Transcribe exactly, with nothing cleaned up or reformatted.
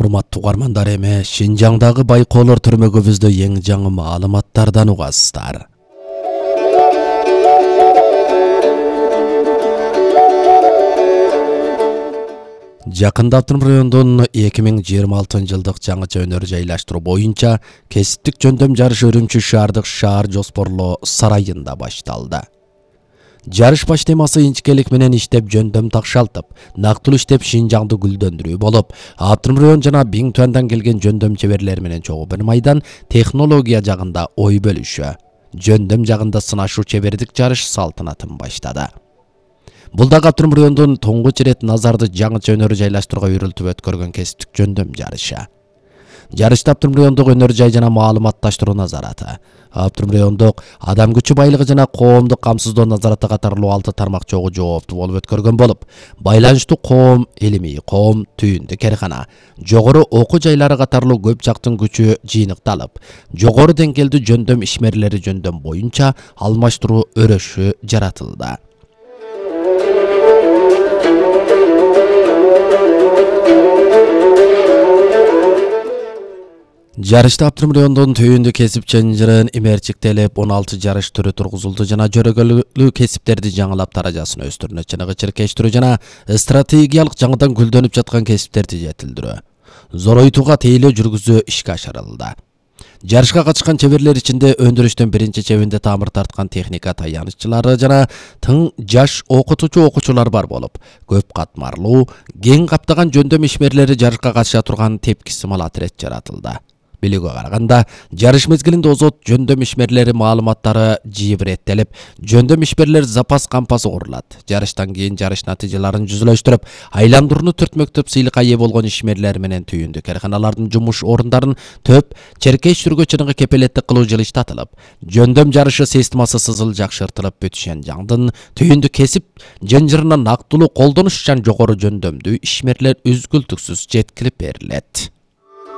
Урматтуу угармандар, эми Шинжаңдагы байкоолор түрмөгүбүздө эң жаңы маалыматтардан угасыздар. Жакында Автоном районунун эки миң жыйырма алтынчы жылдык жаңыча өнөр жайлаштыруу боюнча кесиптик жөндөм жарышы Үрүмчү шаардык шаар жоспорлоо сарайында башталды. Жарыш баш темасы инчикелик менен иштеп жөндөм такшалтып, нактылуу иштеп Шинжаңды гүлдөндүрүү болуп, Автоном район жана Биң Туандан келген жөндөм чеберлер менен чогуу бир майдан технология жагында ой бөлүшүү, жөндөм жагында сынашуу чебердик жарыш салтанатын баштады. Бул дагы Автоном райондун туңгуч ирет Назарды жаңыча өнөр жайлаштырууга үйрөлтүп өткөргөн кесиптик жөндөм жарышы. Жарышта Автоном райондук өнөр жай жана маалыматташтыруу назараты, Автоном райондук адам күчү байлыгы жана коомдук камсыздоо назараты катарлуу алты тармак чогуу жооптуу болуп өткөргөн болуп, байланыштуу коом илимий, коом түйүндүк эркана, жогору окуу жайлары катарлуу көп жактын күчү жыйныкталып, жогору деңгээлдүү жөндөм ишмерлери жөндөм боюнча алмаштыруу өрөшү жаратылды. Жарышта Автоном райондун түйүндү кесип чынжырын имерчиктелип, он алты жарыш түрү тургузулду жана жөрөгөлүү кесиптерди жаңылап даражасын өстүрүүнү чыныгы чиркештирүү жана стратегиялык жаңыдан гүлдөнүп жаткан кесиптерди жетилдирүү, зоройтууга тейлөө жүргүзүү ишке ашырылды. Жарышка катышкан чеберлер ичинде өндүрүштүн биринчи чебинде тамыр тарткан техника таяныччылары жана тың жаш окутуучу окуучулар бар болуп, көп катмарлуу, кең каптаган жөндөм ишмерлери жарышка катыша турган тепкисимал отряд жаратылды. Билүүгө караганда, жарыш мезгилинде озот жөндөм ишмерлери маалыматтары жибиреттелип, жөндөм ишмерлер запас кампасы курулат. Жарыштан кийин жарыш натыйжаларын жүзүлөштүрүп, айландырууну төртмөктөп сыйлыкка ээ болгон ишмерлер менен түйүндүк эрканалардын жумуш орундарын төп черкештирүүгө чыныгы кепилеттик кылуу жылыштатылып, жөндөм жарышы системасы сызыл жакшыртылып, бүтүшен жаңдын түйүндү кесип жынжырына нактылуу колдонуш үчүн жогору жөндөмдүү ишмерлер үзгүлтүксүз жеткирип берилет.